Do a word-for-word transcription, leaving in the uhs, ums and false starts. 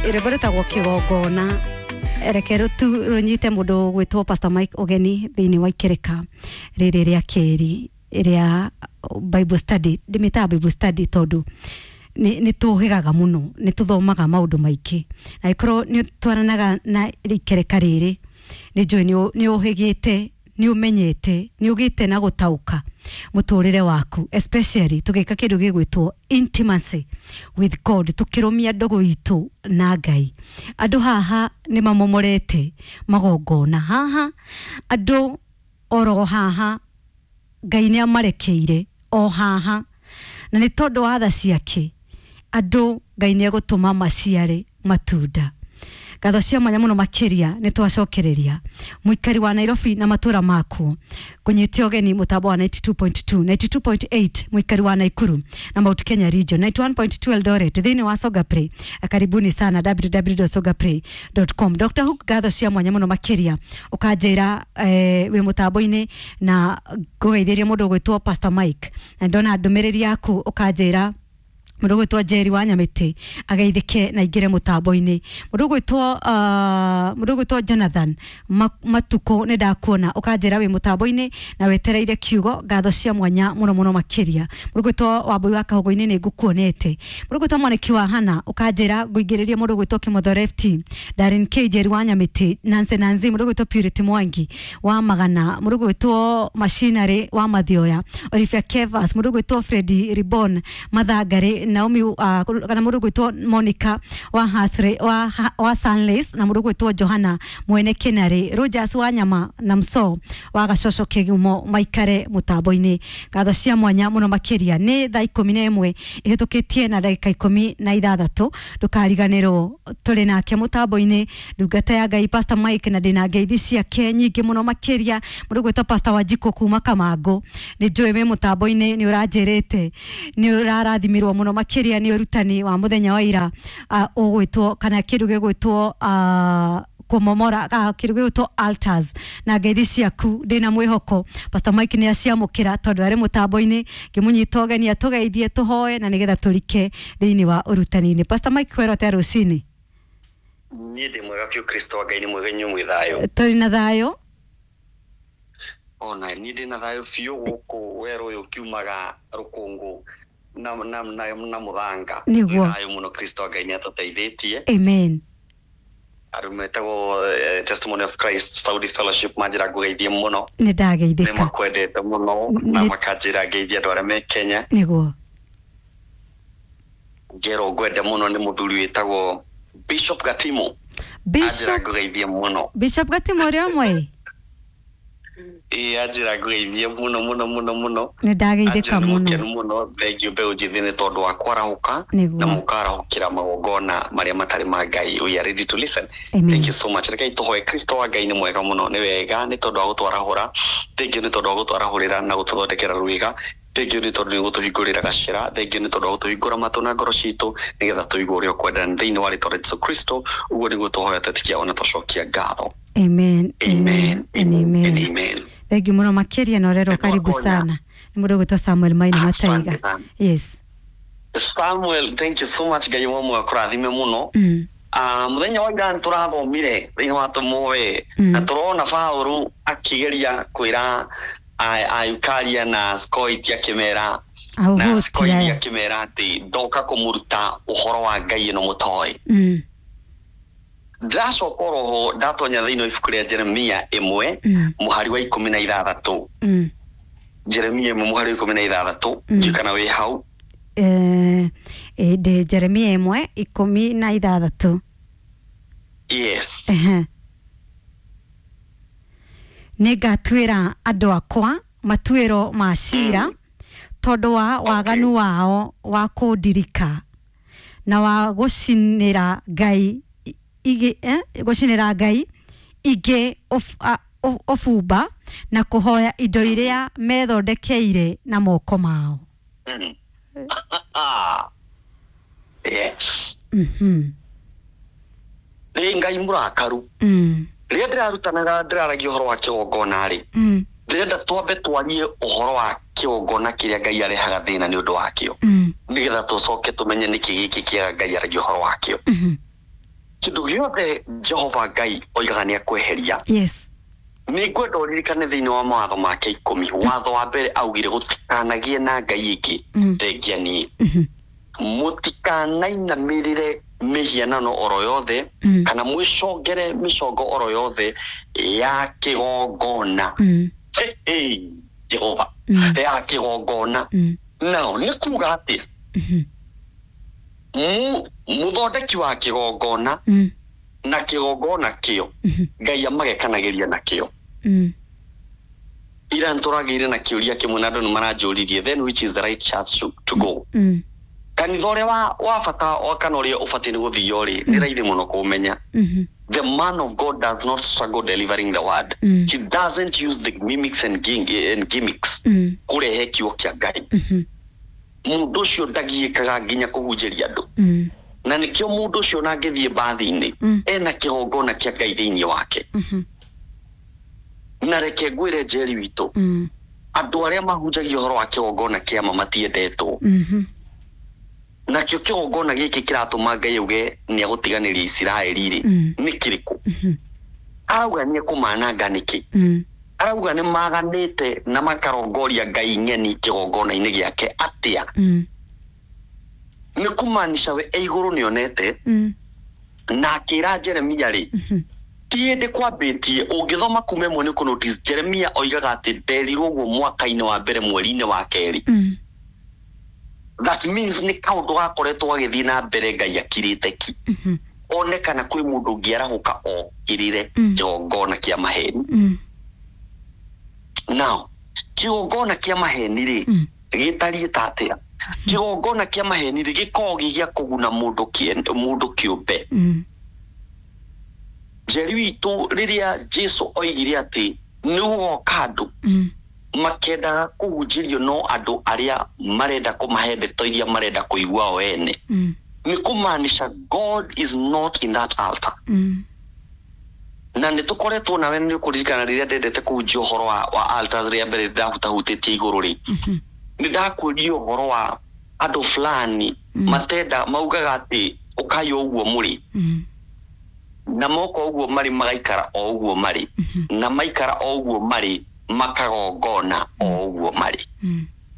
Rwĩmbo rwĩtagwo Kĩgongona. Reke rũtu rũnyite mũndũ gwĩtwo Pastor Mike ũgeni thĩinĩ wa ikereka rĩrĩ rĩa kerĩ rĩa Bible study. Ndĩmĩtaga Bible study tondũ nĩ nĩ tũhĩgaga mũno, nĩ tũthomaga maũndũ maingĩ, na ĩkorwo nĩ twaranaga na ikereka rĩrĩ, nĩ njũĩ nĩ ũhĩgĩte, nĩ ũmenyete, nĩ ũgĩte na gũtaũka mũtũrĩre waku, especially tũgĩka kĩndũ gĩgwĩtwo intimacy with God, tũkĩrũmia ndũgũ itũ na Ngai. Andũ haha nĩ mamomorete magongona haha, andũ oro haha Ngai nĩ amarekeire o haha, na nĩ tondũ wa tha ciake andũ Ngai nĩ egũtũma maciare matunda. Ngatho cia mwanya mũno makĩria nĩ twacokereria mũikari wa Nairobi na matũra makuo kũnyitia ũgeni mũtambo wa ninety two point two, ninety two point eight mũikari wa Nakuru na Mount Kenya region, ninety one point two Eldoret thĩinĩ wa Songa Play. Karibuni sana w w w dot songa play dot com. Doctor Hook, ngatho cia mwanya mũno makĩria ũkanjĩra eh, wĩ mũtambo-inĩ na ngũgeithĩria mũndũ ũgwĩtwo Pastor Mike, na ndona ndũmĩrĩri yaku ũkanjĩra mũndũ ũgwĩtwo Jerry wa Nyamĩtĩ ageithĩke na aingĩre mũtambo-inĩ. Mũndũ ũgwĩtwo, uh, mũndũ ũgwĩtwo Jonathan Matukũ nĩ ndakuona ũkanjĩra wĩ mũtambo-inĩ na wetereire kiugo. Ngatho cia mwanya mũno mũno makĩria. Mũndũ ũgwĩtwo Wambui wa Kahũngũ-inĩ nĩ ngũkuonete. Mũndũ ũgwĩtwo Mwaniki wa Hana ũkanjĩra ngũingĩrĩrie mũndũ ũgwĩtwo Kĩmotho Lefty, Darren K, Jerry wa Nyamĩtĩ, Nancy Nancy, mũndũ ũgwĩtwo Purity Mwangi wa Magana, mũndũ ũgwĩtwo Machinery wa Mathioya, Olivia Kevas, mũndũ ũgwĩtwo Freddy Ribon Mathangari, Naomi, uh, kana mũndũ ũgwĩtwo Monica wa Hasre, wa, wa Sunlace, na mũndũ ũgwĩtwo Johanna Mwene Kinari, Rogers wa Nyama na Mso wa Gacoco Kĩgumo maikare mũtambo-inĩ. Ngatho cia mwanya mũno makĩria. Nĩ thaa ikũmi na ĩmwe ĩhĩtũkĩtie na ndagĩka ikũmi na ithathatũ. Ndũkariganĩrwo tũrĩ nake mũtambo-inĩ ndungata ya Ngai Pastor Mike, na ndĩna ngeithi ciake nyingĩ mũno makĩria. Mũndũ ũgwĩtwo Pastor Wanjikũ kuma Kamangũ, nĩ njũĩ wĩ mũtambo-inĩ, nĩ ũranjĩrĩte nĩ ũrarathimirwo mũno makĩria nĩ ũrutani wa mũthenya wa ira, uh, ũgwĩtwo kana kĩndũ gĩgwĩtwo uh, kũmomora kĩndũ gĩgwĩtwo altars, na ngeithi ciaku ndĩna mwĩhoko Pastor Mike nĩ aciamũkĩra tondũ arĩ mũtambo-inĩ. Ngĩmũnyita ũgeni atũgeithie tũhoe na nĩgetha tũrike thĩinĩ wa ũrutani-inĩ. Pastor Mike, kwĩrwo atĩa rũcinĩ? Niĩ ndĩ mwega biũ, Kristo wa Ngai nĩ mwega, inyuĩ mwĩ thayũ? Tũrĩ na thayũ. Ona niĩ ndĩ na thayũ biũ gũkũ werũ ũyũ kiumaga rũkũngũ na, na, na, na mũthanga. Nĩguo. Thayũ mũno, Kristo wa Ngai nĩ atũteithĩtie. Amen. Andũ metagwo eh, Testimony of Christ Saudi Fellowship manjĩra ngũgeithie mũno. Nĩ ndageithĩka. Nĩ makwendete mũno na makanjĩra ngeithie andũ arĩa me Kenya. Nĩguo. Njerwo ngwende mũno nĩ mũthuri wĩtagwo Bishop Gatimo. Bishop Anjĩra ngũgeithie mũno. Bishop Gatimo ũrĩa ũmwe? Ĩĩ, anjĩra ngũgeithie mũno mũno mũno mũno. Nĩ ndageithĩka mũno. Mũno mũno, thengiũ mbeũ njĩthĩ nĩ tondũ wa kwarahũka na mũkarahũkĩra magongona marĩa matarĩ ma Ngai. We are ready to listen. Amen. Thank you so much. Rekei tũhoe. Kristo wa Ngai nĩ mwega mũno, nĩ wega nĩ tondũ wa gũtwarahũra. Thengiũ nĩ tondũ wa gũtwarahũrĩra na gũtũthondekera rwĩga. Thengiũ nĩ tondũ nĩ gũtũhingũrĩra gacĩra. Thengiũ nĩ tondũ wa gũtũhingũra matũ na ngoro citũ nĩgetha tũigue ũrĩa ũkwenda thĩinĩ wa rĩtwa rĩa Jesũ Kristo. Ũguo nĩguo tũhoya twĩtĩkia ona twacokia ngatho. Amen. Amen. Amen. Amen. Amen. Thengiũ mũno makĩria na ũrerwo karibu sana. Nĩ mũndũ ũgwĩtwo Samuel Maina Mataiga. Yes. Samuel, thank you so much. Ngai wa muoyo akũrathime mũno. Mm. Ah, mũthenya wa ira nĩtũrathomire thĩinĩ wa Tũmũĩ na tũrona Paũlũ akĩgeria kwĩra Ayukaria na Skoiti akĩmera na Skoiti akĩmera atĩ ndoka kũmũruta ũhoro wa Ngai ĩno mũtoĩ. Mm. Ndĩracoka oroho ndatonya thĩinĩ wa ibuku rĩa Jeremia ĩmwe mũhari wa ikũmi na ithathatũ. Mm. Jeremia ĩmwe mũhari wa ikũmi na ithathatũ, ndiũĩ kana wĩ hau. Eh, ndĩ Jeremia ĩmwe ikũmi na ithathatũ. Yes. Ehe. Nĩngatuĩra andũ akwa matuĩro ma cira tondũ wa waganu wao wa kũndirika na wa gũcinĩra Ngai igĩ, eh, gũcinĩra Ngai ingĩ ũbumba na kũhoya indo iria methondekeire na moko mao. Mm. Yes. Mhm. Nĩ Ngai mũrakaru. Mm. Rĩrĩa ndĩrarutanaga ndĩraragia ũhoro wa kĩgongona rĩ, Mm. ndĩrenda twambe twarie ũhoro wa kĩgongona kĩrĩa Ngai arehaga thĩna nĩ ũndũ wakĩo. Mm. Nĩgetha tũcoke tũmenye nĩkĩ gĩkĩ kĩega Ngai aragia ũhoro wakĩo. Mm. Kĩndũ gĩothe Jehova Ngai oigaga nĩ akweheria. Yes. Nĩ ngwenda ũririkane thĩinĩ wa mawatho make ikũmi, watho wa mbere augire gũtikanagie na ngai ĩngĩ Mm. thengia niĩ. Mhm. Mũtikanainamĩrĩre mĩhianano oro yothe Mm. kana mwĩcongere mĩcongo oro yothe ya kĩgongona. Mm. Hey, hey, Jehova. Mm. Ya kĩgongona. Mm. Nao nĩ kuga atĩ Mhm. mu- mũthondeki wa kĩgongona Mm. na kĩgongona kĩo Mhm. Ngai amagekanagĩria nakĩo. Mm. Ira nĩtũragĩire na kĩũria kĩmwe na andũ nĩ maranjũririe, then which is the right church to, to go? Mm. Kanitha ũrĩa wa, wa bata wa kana ũrĩa ũbatiĩ nĩ gũthio rĩ, nĩ raithi mũno kũmenya. Mhm. The man of God does not struggle delivering the word. Mm. He doesn't use the mimics and, ging, and gimmicks Mm. kũrehe kiugo kĩa Ngai. Mhm. Mũndũ ũcio ndagiĩkaga nginya kũhunjĩria andũ. Mm. Na nĩkĩo mũndũ ũcio ona angĩthiĩ mbathi-inĩ Mm. ena kĩgongona kĩa Ngai thĩinĩ wake. Mhm. Na reke ngwĩre Njeri witũ, Mm. andũ arĩa mahunjagia ũhoro wa kĩgongona kĩa ma matiendetwo. Mhm. Nakĩo kĩgongona gĩkĩ kĩratũma Ngai auge nĩ agũtiganĩria Isiraeli rĩ, Mm. nĩ kĩrĩkũ? Mhm. Arauga nĩ ekũmananga nĩkĩ? Mm. Arauga nĩ maganĩte na makarongoria ngai ng'eni kĩgongona-inĩ gĩake atĩa? Mm. Nĩ kũmaanisha we e igũrũ nĩonete Mm. na akĩra Jeremia rĩ, Mhm. ti hĩndĩ kwambĩtie. Ũngĩthoma kuma ĩmwe nĩ ũkũ-notice Jeremia oigaga atĩ nderirwo ũguo mwaka-inĩ wa mbere mweri-inĩ wa kerĩ. Mm. That means nĩ kaũndũ gakoretwo gagĩthiĩ na mbere Ngai akirĩte ki. Mhm. One kana kwĩ mũndũ ũngĩarahũka okĩrĩre Mm. kĩgongona kĩa maheni. Mm. Now kĩgongona kĩa maheni rĩ, Mm. gĩtariĩ ta atĩa? Kĩgongona kĩa maheni rĩ, gĩkoragwo gĩ gĩa kũguna mũndũ kĩen- mũndũ kĩũmbe. Mm. Njeri witũ, rĩrĩa Jesu oigire atĩ nĩ gũgoka andũ Mm. makendaga kũhunjĩrio no andũ arĩa marenda kũmahe ndeto iria marenda kũigua o ene, Mm. nĩ kũmaanisha God is not in that altar. Mm. Na nĩ tũkoretwo nawe nĩ ũkũririkana rĩrĩa ndendete kũhunjia ũhoro wa, wa altars rĩa mbere ndahutahutĩtie igũrũ rĩ, Mhm. nĩ ndakwĩrire ũhoro wa andũ fulani Mm. matenda maugaga atĩ ũkai o ũguo mũrĩ, Mm. na moka ũguo marĩ magaikara o ũguo marĩ, Mhm. na maikara o ũguo marĩ makagongona o ũguo marĩ. Mm.